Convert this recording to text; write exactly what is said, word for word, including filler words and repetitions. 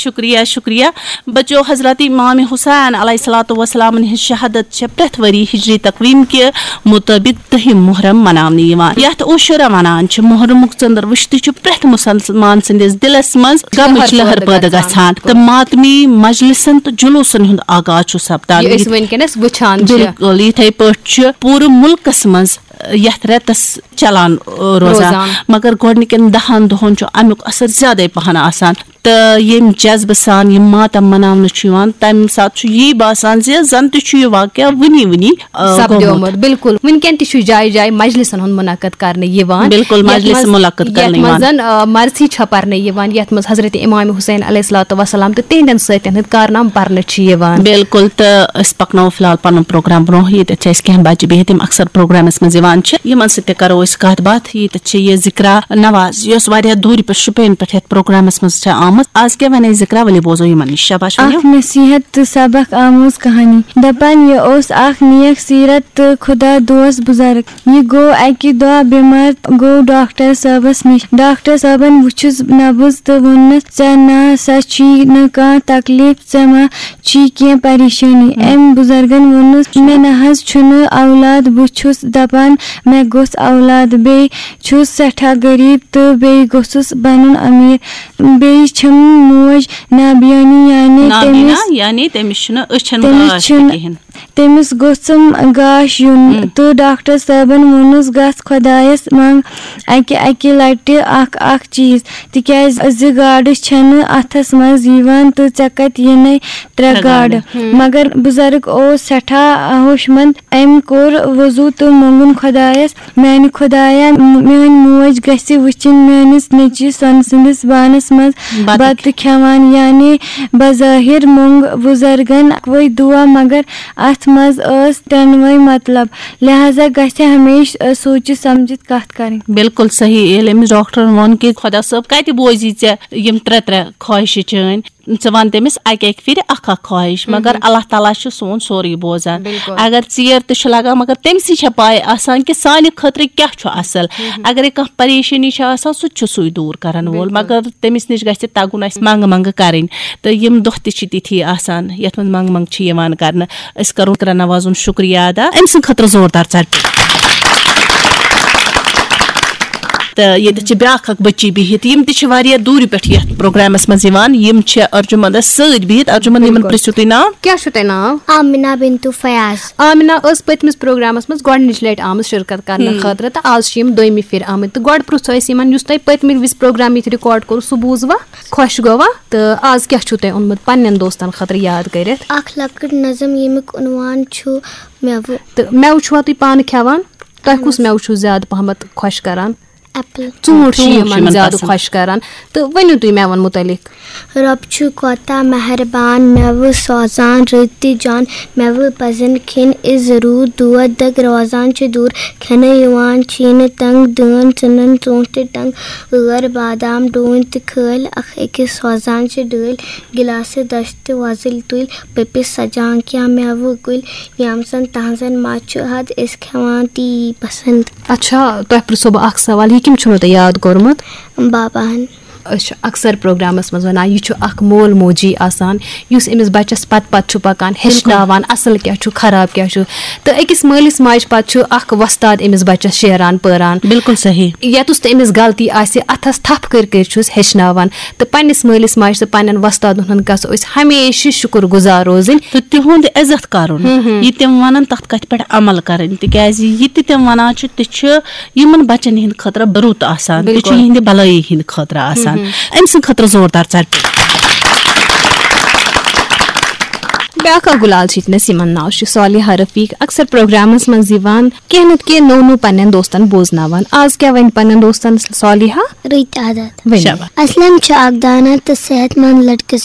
شکریہ، شکریہ۔ بچو، حضرت امام حسین علیہ الصلوۃ والسلام ہٕنٛز شہادت چھےٚ پرٛٮ۪تھ ؤری ہجری تقویم کہِ مطٲبق دٔہِم محرم مناونہٕ یِوان، یتھ عاشورہ ونان چھِ۔ محرمُک ژٔنٛدٕر وٕچھتٕے چھُ پرٛٮ۪تھ مسلمان سٕنٛدِس دِلس منٛز غمٕچ لہر پٲدٕ گژھان تہٕ ماتمی مجلسن تہٕ جلوسن ہُنٛد آغاز چھُ سپدان۔ یہِ أسۍ وٕنکیٚنس وٕچھان چھِ۔ بِلکُل، یِتھے پٲٹھۍ چھُ پوٗرٕ مُلکس منٛز یتھ رٮ۪تس چلان، آ، روزان۔ روزان۔ مگر گۄڈنِکٮ۪ن دَہَن دۄہَن چھُ اَمیُک اثر زیادَے پَہَن آسان۔ تہٕ ییٚمہِ جذبہٕ سان یہِ ماتم مناونہٕ چھُ یِوان، تَمہِ ساتہٕ چھُ یی باسان زِ زَن تہِ چھُ یہِ واقعہ وٕنی وٕنی، آ، سپدیومُت۔ گوٚمُت۔ بِلکُل۔ وٕنکٮ۪ن تہِ چھُ جایہِ جایہِ مجلسن ہُنٛد منعقد کرنہٕ یِوان۔ بِلکُل، یَتھ مجلس منٛز، منعقد یَتھ کرنہٕ منٛز یِوان۔ زَن، آ، مرثی چھےٚ پرنہٕ یِوان، یَتھ منٛز حضرت امام حسین علیہ الصلوۃ والسلام تہٕ تِہنٛدٮ۪ن سۭتۍ ہٕنٛدۍ کارنامہٕ پرنہٕ چھِ یِوان۔ بِلکُل، تہٕ أسۍ پَکناوو فی الحال پَنُن پروگرام برونٛہہ۔ ییٚتٮ۪تھ چھِ اَسہِ کینٛہہ بَچہِ بِہِتھ، یِم اکثر پروگرامَس منٛز یِوان چھِ، یِمَن سۭتۍ تہِ کَرو أسۍ کَتھ باتھ۔ ییٚتٮ۪تھ چھِ یہِ ذِکرا نواز، یۄس واریاہ دوٗرِ پٮ۪ٹھ شُپین پٮ۪ٹھ یَتھ پروگرامَس منٛز چھےٚ آمٕژ۔ آز کیٛاہ وَنہِ ذِکرا؟ ؤلِو بوزو یِمَن نِش۔ شاباش، ؤنِو۔ اکھ نصیحت تہٕ سبق آموز کہانی۔ دپان یہِ اوس اکھ نیک سیرت تہٕ خدا دوست بزرگ۔ یہِ گوٚو اکہِ دۄہ بیمار، گوٚو ڈاکٹر صٲبس نِش۔ ڈاکٹر صٲبن وُچھُس نبض تہٕ ووٚننس، "ژےٚ نہ سا چھی نہٕ کانٛہہ تکلیف، ژےٚ ما چھی کینٛہہ پریشٲنی؟" أمۍ بزرگن ووٚنُس، "مےٚ نہ حظ چھُنہٕ اولاد، بہٕ چھُس دپان مےٚ گوٚژھ اولاد، بیٚیہِ چھُس سٮ۪ٹھاہ غریب تہٕ بیٚیہِ گوٚژھُس بنُن امیر، بیٚیہِ چھم موج نابینا، یعنی نابینا، تٔمِس یعنی تٔمِس چھُنہٕ أچھن تٔمِس گاش تہِ چھُنہٕ کِہیٖنۍ۔" تٔمِس گوٚژھم گاش یُن۔ تہٕ ڈاکٹر صٲبن ووٚنُس، "گژھ خۄدایس منٛگ اکہِ اکہِ لٹہِ اکھ اکھ چیٖز، تِکیازِ زٕ گاڈٕ چھنہٕ اتھس منٛز یِوان تہٕ ژےٚ کتہِ یِنے ترٛےٚ ترٛےٚ گاڈٕ۔" گاڈٕ۔ مگر بزرگ اوس سٮ۪ٹھاہ ہوشمند۔ أمۍ کوٚر وضو تہٕ مونگُن خۄدایس، "میانہِ خۄدایا، میٲنۍ موج گژھِ وٕچھِنۍ میٲنِس نیٚچوِ سۄنہٕ سٕنٛدِس بانس منٛز بتہٕ بتہٕ کھٮ۪وان۔" یعنی بظٲہر مونگ بزرگن اکوے دعا، مگر اتھ منٛز ٲس ترٛٮ۪نوَے مطلب، لہذا گژھِ ہمیشہِ سوٗنچِتھ سمجھِتھ کتھ کرٕنۍ۔ بِلکُل صحیح۔ ییٚلہِ أمِس ڈاکٹرن ووٚن کہِ خۄدا صٲب، کتہِ بوزی ژےٚ یِم ترٛےٚ ترٛےٚ خواہشہِ چٲنۍ؟ ژٕ وَن تٔمِس اَکہِ اَکہِ پھِرِ اکھ اکھ خواہش، مگر اللہ تعالیٰ چھُ سون سورُے بوزان۔ بِلکُل۔ اگر ژیر تہِ چھُ لگان، مگر تٔمۍ سٕے چھےٚ پاے آسان کہِ سانہِ خٲطرٕ کیٛاہ چھُ اصل۔ اگرے کانٛہہ پریشٲنی چھِ آسان، سُہ تہِ چھُ سُے دوٗر کران وول، بِلکُل۔ مگر تٔمِس نِش گژھِ تَگُن اَسہِ منٛگہٕ منٛگہٕ کَرٕنۍ۔ تہٕ یِم دۄہ تہِ چھِ تِتھی آسان، یَتھ منٛز منٛگہٕ منٛگہٕ چھِ یِوان کرنہٕ۔ أسۍ کرو کرن نوازُن شُکریہ ادا، أمۍ سٕنٛدِ خٲطرٕ زوردار ژَٹہِ۔ تہٕ ییٚتہِ چھِ بیٛاکھ اکھ بٔچی بِہِتھ، یِم تہِ چھِ واریاہ دوٗرِ پٮ۪ٹھ یَتھ پروگرامَس منٛز یِوان۔ یِم چھِ ارجُمنٛدَس سۭتۍ بِہِتھ۔ ارجُمنٛد، یِمَن بِلکُل۔ پرٛژھِو تُہۍ ناو؟ کیٛاہ چھُو تۄہہِ ناو؟ آمِنہ بِنتُ فیاض۔ آمِنہ ٲس پٔتمِس پروگرامَس منٛز گۄڈٕنِچ لَٹہِ آمٕژ شِرکت کرنہٕ ہُم۔ خٲطرٕ، تہٕ آز چھِ یِم دوٚیمہِ پھِرِ آمٕتۍ۔ تہٕ گۄڈٕ پرٛژھو أسۍ یِمَن، یُس تۄہہِ پٔتمہِ وِزِ پروگرام ییٚتہِ ریکارڈ کوٚروٕ، سُہ بوٗزوا؟ خۄش گوٚوا؟ تہٕ آز کیٛاہ چھُو تۄہہِ اوٚنمُت پنٛنٮ۪ن دوستَن خٲطرٕ یاد کٔرِتھ؟ اکھ لۄکٕٹ نظم، ییٚمیُک عنوان چھُ مٮ۪وٕ۔ تہٕ مٮ۪وٕ چھُوا تُہۍ پانہٕ کھٮ۪وان؟ تۄہہِ کُس مٮ۪وٕ چھُو زیادٕ پہمتھ خۄش کران؟ ایپل۔ ژوٗنٛٹھ چھِ ژوٗنٛٹھ چھِ یِمن یِمن زیادٕ پسنٛد۔ خۄش کران۔ تہٕ ؤنِو تُہۍ مٮ۪وَن مُتعلق۔ رۄب چھُ کوتاہ مہربان، مٮ۪وٕ سوزان رٕتۍ تہِ جان۔ مٮ۪وٕ پزن کھیٚنۍ أسۍ ضروٗر، دود دگ روزان چھِ دوٗر۔ کھٮ۪نہٕ یِوان چھِنہٕ تنگ، دٲن، ژٕنن، ژوٗنٛٹھۍ تہِ ٹنگ، ٲر، بادام، ڈوٗنۍ تہِ کھٲلۍ، اکھ أکِس سوزان چھِ ڈٲلۍ۔ گِلاسہٕ دَچھ تہٕ وۄزٕلۍ تُلۍ، پٔپِس سجان کینٛہہ مٮ۪وٕ کُلۍ۔ یَم زَن تَہَنٛزَن مَزٕ چھُ حد، أسۍ کھٮ۪وان تی پسنٛد۔ اچھا، تۄہہِ پرٛژھو بہٕ اکھ سوال، یہِ کٔمۍ چھُنو تۄہہِ یاد کوٚرمُت؟ باباہن۔ أسۍ چھِ اکثر پروگرامس منٛز ونان، یہِ چھُ اکھ مول موجی آسان، یُس أمِس بچس پتہٕ پتہٕ چھُ پکان، ہیٚچھناوان اصل کیٛاہ چھُ، خراب کیٛاہ چھُ۔ تہٕ أکِس مٲلِس ماجہِ پتہٕ چھُ اکھ وۄستاد أمِس بچس شیران پٲران۔ بِلکُل صحیح۔ یتُس تہِ أمِس غلطی آسہِ، اتھس تھپھ کٔرۍ کٔرۍ چھُس ہیٚچھناوان۔ تہٕ پننِس مٲلِس ماجہِ تہٕ پننٮ۪ن وۄستادن ہُنٛد گژھو أسۍ ہمیشہِ شُکر گُزار روزٕنۍ۔ تہٕ تِہُنٛد عزت کرُن، ہُم ہُم۔ یہِ تِم ونان، تتھ کتھِ پٮ۪ٹھ عمل کرٕنۍ، تِکیازِ یہِ تہِ تِم ونان چھِ، تہِ چھُ یِمن بچن ہٕنٛدِ خٲطرٕ رُت آسان، تہِ چھُ بِلکُل۔ یِہنٛدِ بھلٲیی ہٕنٛدِ خٲطرٕ آسان۔ ہُم ہُم۔ أمۍ سٕنٛدِ خٲطرٕ زوردار ژٹہِ۔ بیٛاکھ اکھ گُلال چھِ ییٚتنس، یِمن ناو چھُ صالحہ رفیق، اکثر پروگرامس منٛز یِوان، کینٛہہ نتہٕ کینٛہہ نوٚو نوٚو پننٮ۪ن دوستن بوزناوان۔ آز کیٛاہ ونہِ پننٮ۪ن دوستن صالحہ؟ رٕتۍ عادت۔ ؤنِو۔ شاباش۔ اسلم چھُ اکھ دانا تہٕ صحت مند لڑکہٕ۔ سُہ